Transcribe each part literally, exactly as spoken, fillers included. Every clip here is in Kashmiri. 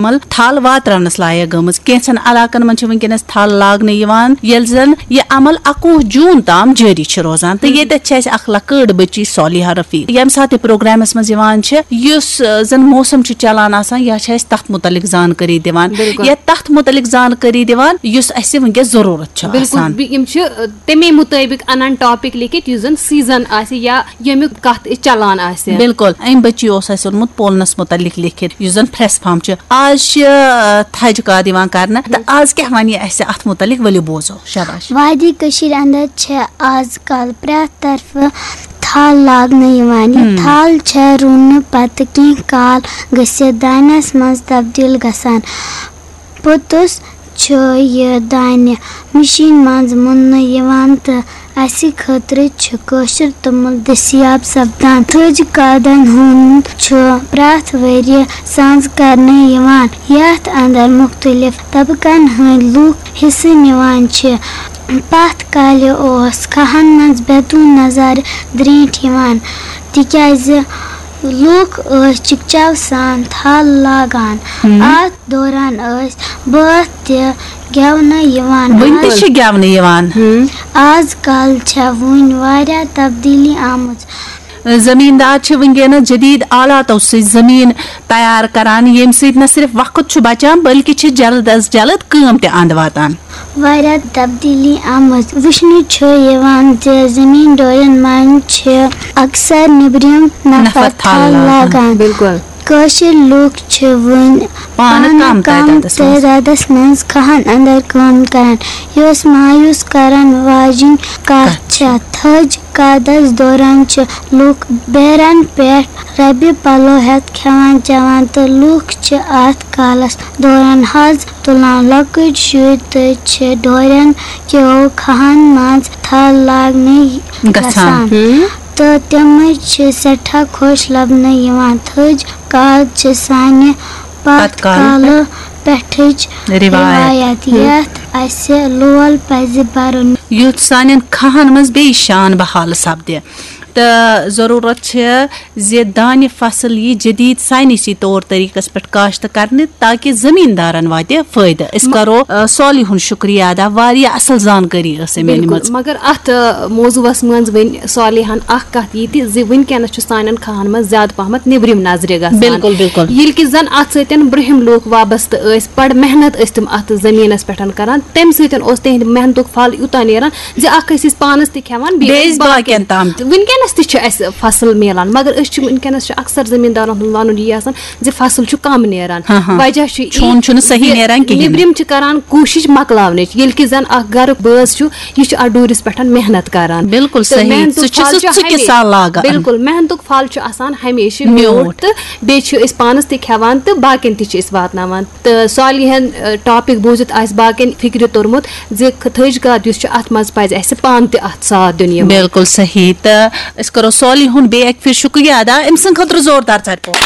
عمل تھل واتراونس لایق گٔمٕژ۔ کینٛژن علاقن منٛز چھِ وٕنکیٚنس تھل لاگنہٕ یِوان، ییٚلہِ زن یہِ عمل اَکوُہ جوٗن تام جٲری چھِ روزان۔ تہٕ ییٚتٮ۪تھ چھِ اَسہِ اکھ لۄکٕٹ بٔچی صالحہ رفیق، ییٚمہِ ساتہٕ یہِ پروگرامس منٛز یِوان چھِ، یُس، آ، زن موسم چھُ چلان آسان، یا چھِ اَسہِ تتھ متعلق زانکٲری دِوان، بِلکُل۔ یا تتھ متعلق زانکٲری دِوان، یُس اَسہِ وٕنکیٚس ضروٗرت چھِ بِلکُل، آسان۔ بِ-، یِم چھِ، آ، تَمے مُطٲبِق اَنان ٹاپِک لیکھِتھ، یُس زَن سیٖزن آسہِ یا ییٚمیُک کَتھ أسۍ چَلان آسہِ۔ بِلکُل، اَمہِ بٔچی اوس اَسہِ اوٚنمُت پولنَس مُتعلِق لیکھِتھ، یُس زَن پھرٛٮ۪س فارم چھُ۔ آز چھِ، آ، تھَجہِ کاد یِوان کرنہٕ، تہٕ آز کیٛاہ وَنہِ یہِ اَسہِ اَتھ مُتعلِق؟ ؤلِو بوزو۔ شاباش۔ وادی کٔشیٖرِ اندر چھِ آز کل پرٛٮ۪تھ طرفہٕ تھل لاگنہٕ یِوان۔ یہِ ہم۔ تھل چھےٚ رُونہٕ پتہٕ کینٛہہ کال گٔژھِتھ دانٮ۪س منٛز تبدیل گژھان۔ پوٚتُس چھُ یہِ دانہِ مِشیٖن منٛز مُننہٕ یِوان تہٕ اَسہِ خٲطرٕ چھُ کٲشُر توٚمُل دٔستیاب سپدان۔ تھٔج کادن ہُنٛد چھُ پرٛٮ۪تھ ؤرۍ یہِ سانٛز کرنہٕ یِوان، یَتھ اندر مُختٔلِف طبقن ہٕنٛدۍ لوٗکھ حصہٕ نِوان چھِ۔ پتھ کالہِ اوس کھاہن منٛز بیتوٗن نظارٕ درٛینٛٹھ یِوان، تِکیازِ لوٗکھ ٲسۍ چِکچاو سان تھل لاگان۔ ہم۔ اَتھ دوران ٲسۍ بٲتھ تہِ گٮ۪ونہٕ یِوان۔ وٕنہِ تہِ آز چھِ گٮ۪ونہٕ یِوان۔ ہم۔ آز کل چھےٚ وُنہِ واریاہ تبدیٖلی آمٕژ۔ زٔمیٖندار چھِ وٕنکیٚنَس جدیٖد آلاتو سۭتۍ زٔمیٖن تیار کران، ییٚمہِ سۭتۍ نہ صرف وقت چھُ بچان، بلکہِ چھِ جلد از جلد کٲم تہِ اَنٛد واتان۔ واریاہ تبدیٖلی آمٕژ۔ وٕچھنہٕ چھُ یِوان زِ زٔمیٖن ڈورٮ۪ن منٛز چھِ اکثر نیٚبرِم نفر نفر تھل تھل لاگان۔ لاگان۔ بِلکُل۔ کٲشِر لوٗکھ چھِ وۄنۍ پانہٕ پانہٕ کم کم تعدادس منٛز۔ تعدادس منٛز کھاہن اندر کٲم کران، یۄس مایوس کرن واجِنۍ کتھ کتھ چھےٚ۔ تھٔج کادس دوران چھِ لوٗکھ بیرن پٮ۪ٹھ ربہِ پلو ہٮ۪تھ کھٮ۪وان چٮ۪وان، تہٕ لوٗکھ چھِ اتھ کالس دوران حظ تُلان۔ لۄکٕٹۍ شُرۍ تہِ چھِ ڈورٮ۪ن کیو کھاہن منٛز تھل لاگنہِ گژھان۔ گژھان۔ ہم۔ تہٕ تِمے چھِ سٮ۪ٹھاہ خۄش لبنہٕ یِوان۔ تھٔج کاد چھِ سانہِ پتھ پتھ کالہٕ کالہٕ پٮ۪ٹھٕچ روایت۔ روایت، ہم۔ یتھ اسہِ لول پزِ برُن۔ یُتھ سانٮ۪ن کھاہن منٛز بیٚیہِ شان بحال سپدِ۔ تہٕ ضروٗرت چھِ زِ دانہِ فصل یی جدید ساینسی طور طریقس پٮ۪ٹھ کاشت کرنہٕ، تاکہِ زٔمیٖندارن واتہِ فٲیدٕ۔ أسۍ م-، کرو، آ، صالح ہُنٛد شُکریہ ادا، واریاہ اصل زانکٲری ٲس أمۍ بِلکُل، أنمٕژ۔ مگر اتھ، آ، موضوعس منٛز ؤنۍ صالحن اکھ کتھ یہِ تہِ زِ وٕنکیٚنس چھُ سانٮ۪ن کھاہن منٛز زیادٕ پہمتھ نیٚبرِم نظرِ گژھان۔ بِلکُل، بِلکُل۔ ییٚلہِ کہِ زن اتھ سۭتۍ برٛونٛہِم لوٗکھ وابستہٕ ٲسۍ، بڑٕ محنت ٲسۍ تِم اتھ زٔمیٖنس پٮ۪ٹھ کران، تمہِ سۭتۍ اوس تِہنٛدِ محنتُک پھل یوٗتاہ نیران زِ اکھ ٲسۍ أسۍ پانس تہِ کھٮ۪وان، بیٚیہِ بیٚیہِ ٲسۍ ٲسۍ باقین باقین۔ تام تہِ۔ وٕنکیٚنس تہِ چھُ اسہِ فصل میلان، مگر أسۍ چھِ وٕنکیٚنس چھُ اکثر زٔمیٖندارن ہُنٛد ونُن یی آسان زِ فصل چھُ کم نیران۔ ہاں، ہاں۔ وجہ چھُ یی چون چھُنہٕ صحیح زِ نیران کِہیٖنۍ۔ نیٚبرِم چھِ کران کوٗشِش مۄکلاونٕچ، ییٚلہِ کہِ زن اکھ گرُک بٲژ چھُ، یہِ چھُ اتھ ڈوٗرِس پٮ۪ٹھ محنت کران۔ بِلکُل تہٕ صحیح۔ محنتُک سُہ چھُ پھل سُہ چھُ ژٕ ہمیشہِ، کِسا لاگان۔ بِلکُل، محنتُک پھل چھُ آسان ہمیشہِ میوٗٹھ۔ میوٗٹھ تہٕ بیٚیہِ چھِ أسۍ پانس تہِ کھٮ۪وان تہٕ باقین تہِ چھِ أسۍ واتناوان۔ تہٕ صالحن، آ، ٹاپک بوٗزِتھ آسہِ باقین فکرِ توٚرمُت زِ تھٔج کاد یُس چھُ، اتھ منٛز پزِ اسہِ پانہٕ تہِ اتھ ساتھ دیُن یِوان۔ بِلکُل صحیح۔ تہٕ أسۍ کرو صالح ہُنٛد بیٚیہِ اکہِ پھِرِ شُکریہ ادا، أمۍ سٕنٛدِ خٲطرٕ زوردار ژَٹہِ پوٚپ۔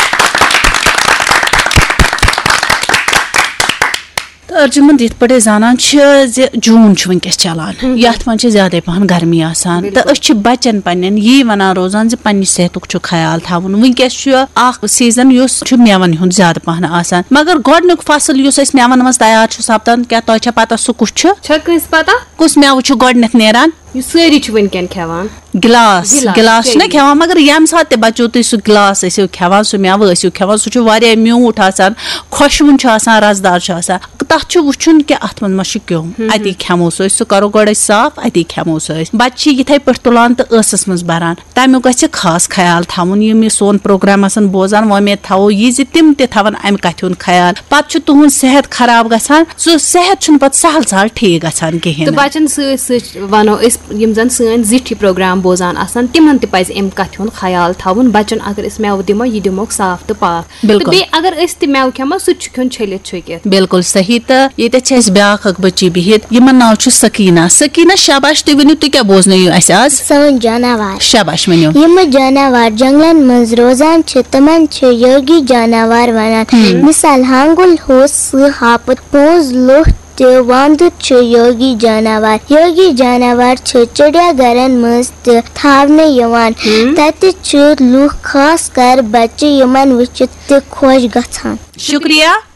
تہٕ ارجُمن، یِتھ پٲٹھۍ أسۍ زانان چھِ زِ جوٗن چھُ وٕنکیٚس چلان، ہم۔ یتھ منٛز چھِ زیادے پہن گرمی آسان۔ بِلکُل۔ تہٕ أسۍ چھِ بچن پننٮ۪ن یی ونان روزان زِ پننہِ صحتُک چھُ خیال تھاوُن۔ وٕنکیٚس چھُ اکھ سیزن یُس چھُ مٮ۪ون ہُنٛد زیادٕ پہن آسان، مگر گۄڈنیُک فصل یُس أسۍ مٮ۪ون منٛز تیار چھُ سپدان، کیٛاہ تۄہہِ چھا پتہ سُہ کُس چھُ؟ چھا کٲنٛسہِ پتہ؟ کُس مٮ۪وٕ چھُ گۄڈنیتھ نیران؟ یُس سٲری چھِ وٕنکٮ۪ن کھٮ۪وان۔ گلاس، گلاس، گلاس چھُنہ چیری۔ کھٮ۪وان، مگر ییٚمہِ ساتہٕ تہِ بچو تُہۍ سُہ گلاس ٲسِو کھٮ۪وان، سُہ مٮ۪وٕ ٲسِو کھٮ۪وان، سُہ چھُ واریاہ میوٗٹھ آسان، خۄشوُن چھُ آسان، رسدار چھُ آسان۔ تتھ چھُ وٕچھُن کہِ اتھ منٛز ما چھُ کیوٚم۔ ہم۔ اتی کھٮ۪مو سُہ أسۍ، سُہ کرو گۄڈٕ أسۍ صاف، اتی کھٮ۪مو سُہ أسۍ۔ بچہِ چھِ یِتھے پٲٹھۍ تُلان تہٕ ٲسس منٛز بران، تمیُک گژھِ خاص خیال تھاوُن۔ یِم یہِ سون پروگرام آسن بوزان، وۄمید تھاوو یہِ زِ تِم تہِ تھاون امہِ کتھِ ہُنٛد خیال۔ پتہٕ چھُ تُہُنٛد صحت خراب گژھان، سُہ صحت چھُنہٕ پتہٕ سہل سہل ٹھیک گژھان کِہیٖنۍ تہٕ نہٕ۔ بچن سۭتۍ سۭتۍ ونو أسۍ، یِم زن سٲنۍ زِٹھۍ یہِ پروگرام بوزان آسن، تِمن تہِ پزِ امہِ کتھِ ہُنٛد خیال تھاوُن۔ بچن اگر أسۍ مٮ۪وٕ دِمو، یہِ دِموکھ صاف تہٕ پاک۔ بِلکُل۔ تہٕ بیٚیہِ اگر أسۍ تہِ مٮ۪وٕ کھٮ۪مو، سُہ تہِ چھُ کھیوٚن چھٔلِتھ چھُکِتھ۔ بِلکُل صحیح۔ تہٕ ییٚتٮ۪تھ چھِ اَسہِ بیٛاکھ اکھ بٔچی بِہِتھ، یِمن ناو چھُ سکیٖنہ۔ سکیٖنہ، شاباش، تُہۍ ؤنِو، تُہۍ کیٛاہ بوزنٲیِو اَسہِ آز؟ سٲنۍ جاناوار۔ شاباش، ؤنِو۔ یِم جاناوار جنگلن منٛز روزان چھِ، تِمن چھِ یوگی جاناوار ونان۔ ہم۔ مثال، ہانگُل، ہوٗس، سٕہہ، ہاپُت، پونٛز، لوٚٹھ تہٕ وانٛدُر چھِ یوگی جاناوار۔ یوگی جاناوار چھِ چڑیا گھرن منٛز تہِ تھاونہٕ یِوان۔ ہم۔ تتہِ چھِ لوٗکھ، خاص کر بچہِ، یِمن وٕچھِتھ تہِ خۄش گژھان۔ شُکریہ۔